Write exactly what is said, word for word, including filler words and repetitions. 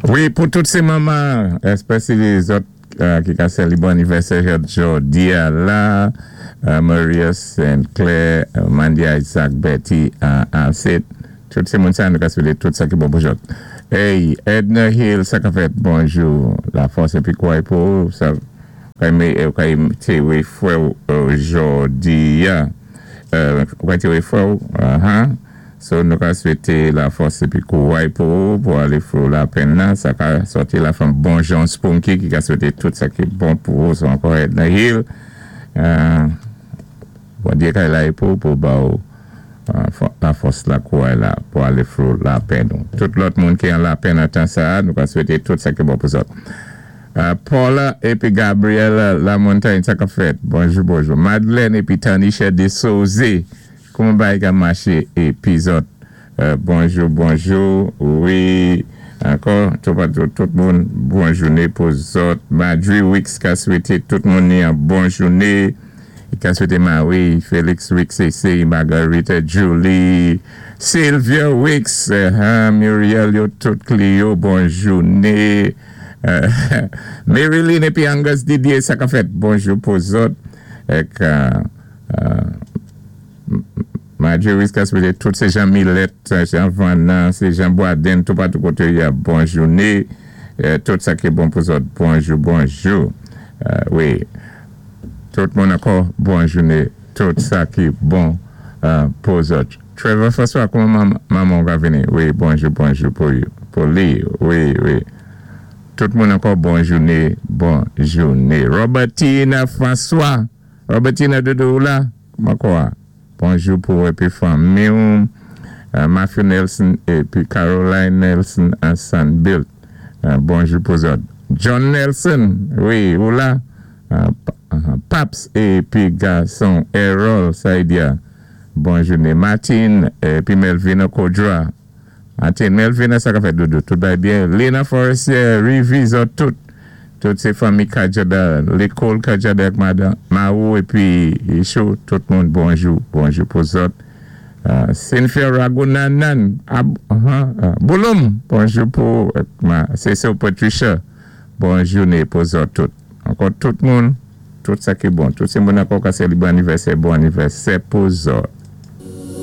Wi, pou tout sé manman, èspésyali zòt ki ka sélébwé anniversaire jòdi a la, Maria Saint Clair, Mandy Isaac, Betty Alcide, tout sé moun sa nou ka swété tout sa ki bon pou zòt. Hey, Edna Hill, sa ka fèt, bonjou, lafòs épi kouway pou, sa kay té wé fwè jòdi a. Kay té wé fwè, aha. So nou ka swété lafòs épi kouway pou, pou alé through lapenn nan, sa ka sòti la fanm bon Jean Spunky ki ka swété tout sa ki bon pou, so ankò Edna Hill. Bondyé kay la pou, pou ba ou lafòs la kouway la pou alé through lapenn nou. Tout lòt moun ki an lapenn an tan sa, nou ka swété tout sa ki bon pou zòt. Paula épi Gabriela Lamontagne, sa ka fèt. Bonjou, bonjou. Madeleine épi Tanisha de Souze. Kouman bagay ka maché épi zòt? Bonjou, bonjou. Wi, ankò, tout moun, bon jouné pou zòt. Madri Wicks ka swété tout moun ni an bon jouné. Ka swété Marie, Félix Wicks, C C, Margarita, Julie, Sylvia Wicks, Muriel, yo tout Clio, bon jouné. Marilyn épi Angus Didier, sa ka fèt, bonjou pou zòt. Ek Marjorie Wicks ka swété tout sé Jean Millet, Jean Vanan, sé Jean Boisden, tout patou koté ya, bon jouné. Tout sa ki bon pou zòt, bonjou, bonjou. Wi. Tout moun ankò, bon jouné, tout sa ki bon pou zòt. Trevor François, kouman manman ka vini? Wi, bonjou, bonjou pou li. Wi, wi. Tout moun ankò, bon jouné, bon jouné. Robertina François, Robertina doudou la, kouman kwa? Bonjou pou épi fanmi. Matthew Nelson épi Caroline Nelson an Sandbilt. Bonjou pou zòt. John Nelson, wi, ou la? Paps épi gason Errol Saidia. Bon jouné. Martin épi Melvina Kodra. Martin, Melvina, sa ka fèt doudou? Tout bay byen. Lena Forestier, Rivi, zòt tout. Tout sé fanmi Kajada, lékòl Kajada ak madan Maou épi Isho, tout moun bonjou, bonjou pou zòt. Cynthia Ragunanan, Bouloum, bonjou pou Cecil Patricia, bon jouné pou zòt tout. Ankò tout moun, tout sa ki bon. Tout sé moun ankò ka sélébwé anniversaire, bon anniversaire pou zòt.